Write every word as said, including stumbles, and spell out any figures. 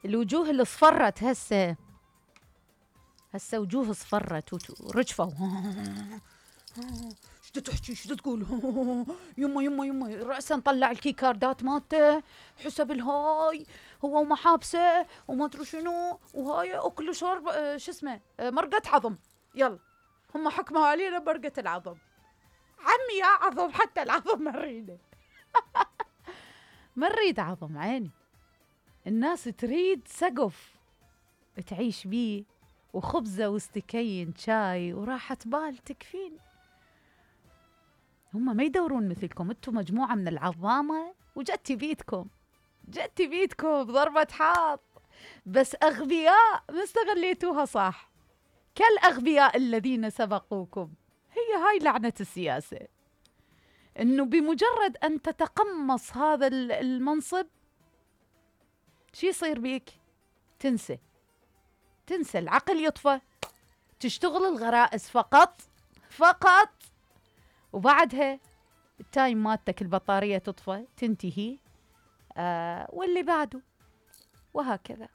الوجوه اللي اصفرت هسه هسه وجوه اصفرت ورجفوا. شو تحكي شو تقول؟ يمه يمه يمه رأسا نطلع الكيكاردات مالته حسب الهاي هو ومحابسه وما ادري شنو وهاي اكل وشرب شو اسمه مرقة عظم. يلا هم حكموا علينا مرقة العظم. عمي يا عظم حتى العظم ما نريده. ما نريد عظم عيني. الناس تريد سقف تعيش بيه وخبزة واستكين شاي وراحة بال تكفين. هم ما يدورون مثلكم، انتم مجموعة من العظامة وجتي بيدكم جتي بيدكم ضربة حاط، بس أغبياء ما استغليتوها صح كالأغبياء الذين سبقوكم. هي هاي لعنة السياسة، انه بمجرد ان تتقمص هذا المنصب شي يصير بيك؟ تنسى تنسى العقل يطفى، تشتغل الغرائز فقط فقط، وبعدها التايم مالتك البطارية تطفى تنتهي، آه واللي بعده، وهكذا.